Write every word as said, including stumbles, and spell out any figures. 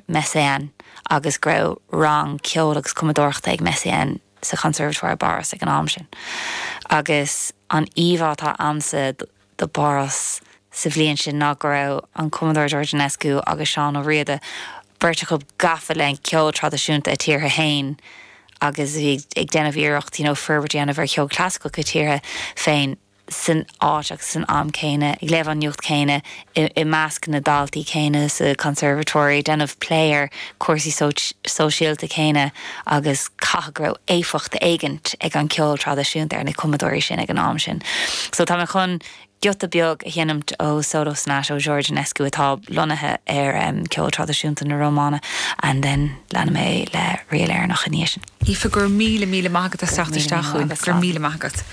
Messiaen agus go raibh rang ceol agus cumadóireachta ag Messiaen sa Conservatoire i bPáras ag an am sin. Agus an íomhá atá agamsa de Pháras sa bhliain sin ná go raibh an cumadóir George Enescu agus Seán Ó Riada beirt acu gafa le ceol traidisiúnta a tíortha féin agus bhí ag déanamh iarracht you know, forbairt a dhéanamh ar cheol clasaiceach a tíortha féin san áit agus san am céanna ag léamh an nuacht céanna i measc na daltaí céanna sa conservatory déanamh plé ar cúrsaí sóisialta céanna agus caithfidh go raibh éifeacht éigin ag an ceol traidisiúnta ar na cumadóirí sin ag an am sin. So tá mé chun giota beag a sheinmt ó Solo Sonata ó George Enescu atá lonnaithe ar um, ceol traidisiúnta na Rómáine and then leanfaidh mé le ríl Éireannach ina dhiaidh sin. Aoife gur míle míle maith agat as teacht isteach gur míle maith agat.